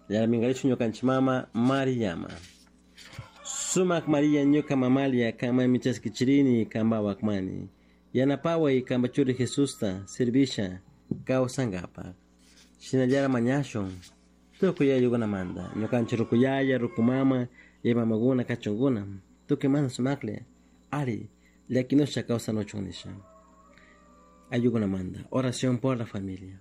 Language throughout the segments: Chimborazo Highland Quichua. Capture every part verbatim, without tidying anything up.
Yarmingarichu ñukanchik mama Mariyama. Sumak Maria ñuka mamalia kanmanmi chaskichirini kanpa mani. Yanapaway kanpa churi Jesusta servisha kawsankapak. Shinallara mañashun tukuy ayllukunamanta ñukanchik rukuyaya, rukumama, mamakuna kachunkuna tukuy mana sumaklla ari llakinusha kawsanuchun nisha. Ayllukunamanta oración por la familia.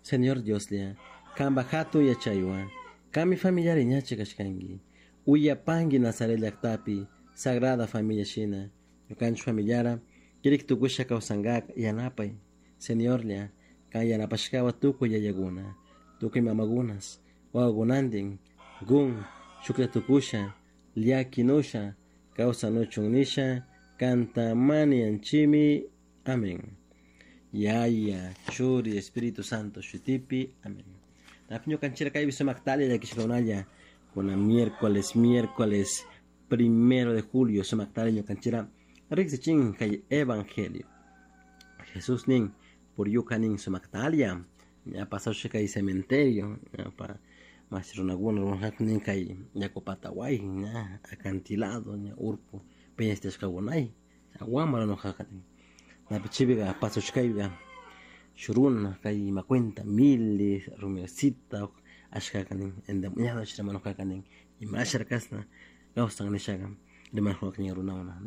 Señor Dioslla, kanpa hatun yachaywan kanmi familiari ñachi kashkanki uyapanki Nazaret llaktapi Sagrada Familia shina ñukanchik familiara kirik tukusha kawsankak yanapay Señorlla kan yanapashkawa tukuy yayakuna tukuy mamakunas wawakunantin kun shuklla tukusha llakinusha kawsanuchun nisha kanta manianchimi. Amén. Yaya, Churi, Espíritu Santo, shutipi. Amén. Ñukanchira kaypi sumaktalla llakishkakunalla kuna miércoles, miércoles primero de julio sumaktalla ñukanchira riqsichin kay evangelio. Jesús nin puryuka nin sumaktalla ña pasawsha kay cementerio ña pa mas runakuna runaku nin kay yaku pataway ña acantilado ña urku peñastashkakunay wamra nukaka nin napi chaypica pasawshkayka shuk runa kay ima cuenta miles rumiosita ashkaka nin endemoniado rimanukaka nin imashara kashna kawsan nishaka rimanukaka runakuna.